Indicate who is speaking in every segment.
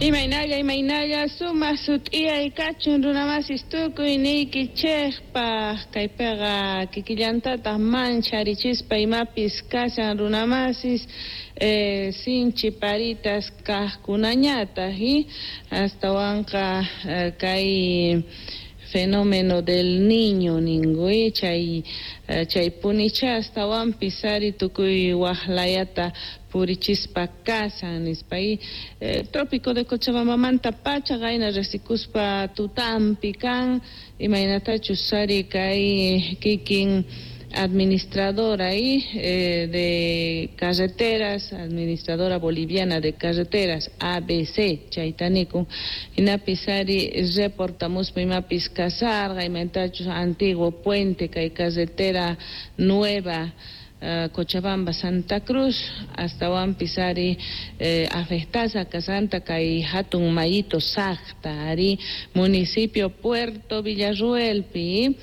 Speaker 1: Imaynalla, imaynalla, sumaq sut'iyay kachun runamasis tukuy niykichikpaq kaypiqa kikillantataq mancharichispa imapis kashan runamasis sinchi paritas kaqkunañataq astawanqa kay fenómeno del Niño ninku chay chay punicha astawanpis ari tukuy waqlayata purichispa kashan nispa trópico de Cochabambamanta pacha qayna riqsikuspa tutampi kan imaynatachus ari kay kikin administradora de carreteras, administradora boliviana de carreteras, ABC, chayta nikun, hinapis ari reportamuspa imapis kasarqa, imaynatachus antiguo puente kay carretera nueva Cochabamba Santa Cruz astawanpis ari afectasqa kasqanta kay hatun mayito Sacta ari municipio Puerto Villarruelpi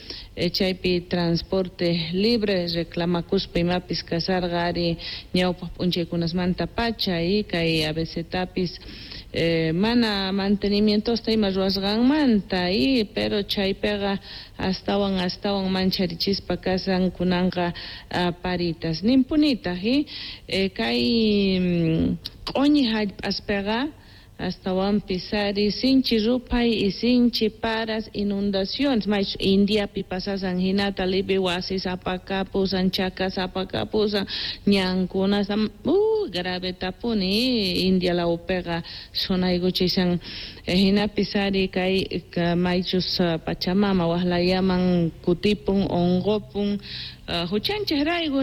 Speaker 1: chaypi transporte libre reclamakuspa imapis kasarqa ari ñawpaq p'unchaykunasmanta pacha kay ABCtapis mana mantenimientosta ima ruwasqanmanta pero chaypiqa astawan astawan mancharichispa kashan kunanqa paritas ninpunitaq kay q'uñi hallp'aspiqa astawanpis ari sinchi ruphay y sinchi paras inundaciones maychus Indiapi pasasan hinata lipi wasis apakapusan chakas apakapusan ñankunas gravetapuni India lawpiqa sunaykuchishan hinapis ari kay maychus Pachamama waqlayaman kutipun unqupun huchanchik rayku.